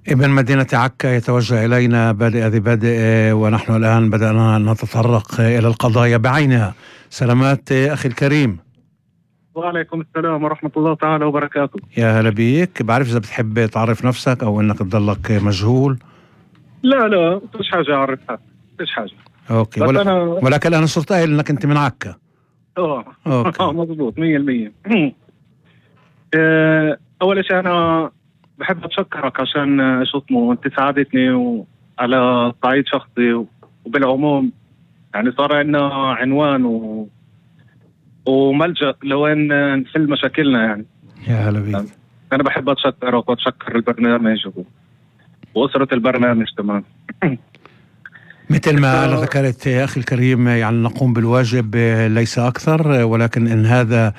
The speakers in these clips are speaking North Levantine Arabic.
ابن مدينة عكا يتوجه إلينا بادئ ذي بادئ، ونحن الآن بدأنا نتطرق إلى القضايا بعينها. سلامات أخي الكريم. وعليكم السلام ورحمة الله تعالى وبركاته. يا هلا بيك. بعرف إذا بتحب تعرف نفسك أو إنك تضلك مجهول. لا مش حاجة أعرفها، مش حاجة. أوكي. ولكن أنا صرت قايل إنك أنت من عكا. أوكي. مضبوط 100%. أول شيء أنا بحب أتشكرك عشان شو اسمه أنت ساعدتني على صعيد شخصي وبالعموم، يعني صار عندنا عنوان وملجأ لوين نحل مشاكلنا يعني. يا هلا بيك. أنا بحب أتشكرك وأتشكر البرنامج وأسرة البرنامج كمان. مثل ما ذكرت يا أخي الكريم، يعني نقوم بالواجب ليس أكثر، ولكن إن هذا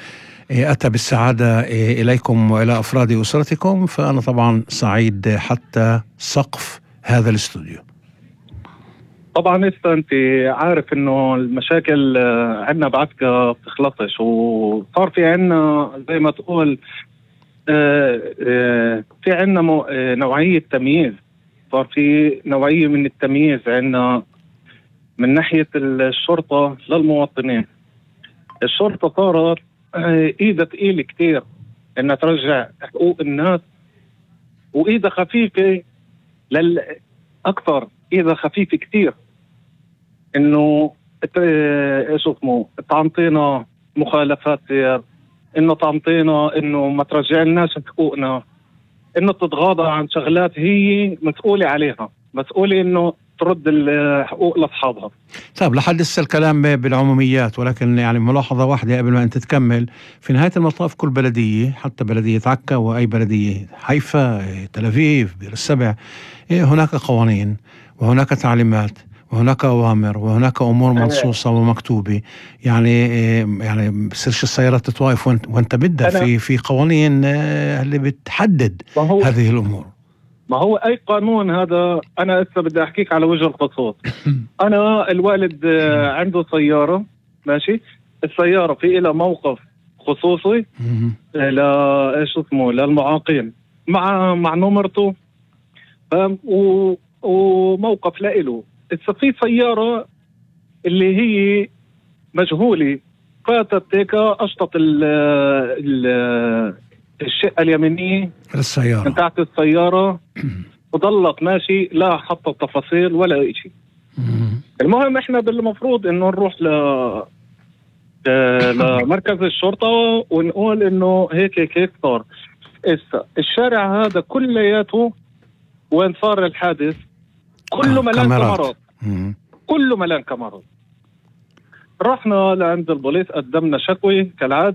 أتى بالسعادة إليكم وإلى أفراد أسرتكم فأنا طبعا سعيد حتى سقف هذا الاستوديو. طبعا أنت عارف إنه المشاكل عندنا بعدك بتخلصش، وصار في عندنا زي ما تقول في عندنا نوعية تمييز. صار في نوعية من التمييز عندنا من ناحية الشرطة للمواطنين. الشرطة صارت إيدها ثقيلة كتير إنها ترجع حقوق الناس، وإيدها خفيفة أكثر، إيدها خفيفة كتير إنه إيش اسمه تعطينا مخالفات سير، إنه تعطينا إنه ما ترجع لناش حقوقنا، إنه تتغاضى عن شغلات هي مسؤولة عليها، مسؤولة إنه ترد الحقوق لأصحابها. طيب لحد هسه الكلام بالعموميات، ولكن يعني ملاحظة واحدة قبل ما أنت تكمل. في نهاية المطاف كل بلدية، حتى بلدية عكا وأي بلدية، حيفا، تل أبيب، بئر السبع، هناك قوانين وهناك تعليمات وهناك أوامر وهناك أمور منصوصة ومكتوبة. يعني بصيرش السيارات تتوقف وانت بدها في قوانين اللي بتحدد هذه الأمور. ما هو أي قانون هذا. أنا لسه بدي أحكيك على وجه الخصوص. أنا الوالد عنده سيارة، ماشي. السيارة في إلى موقف خصوصي إيش اسمه للمعاقين مع نمرته، وموقف لإله. في سيارة اللي هي مجهولة فاتت هيك أشطت الشقة اليمينية السيارة بتاعت السيارة وضلت ماشي، لا حط تفاصيل ولا إشي. المهم إحنا بالمفروض إنه نروح لمركز الشرطة ونقول إنه هيك صار. الشارع هذا كلياته وين صار الحادث كله ملان كاميرات، كله ملان كاميرات. رحنا لعند البوليس، قدمنا شكوى كالعادة.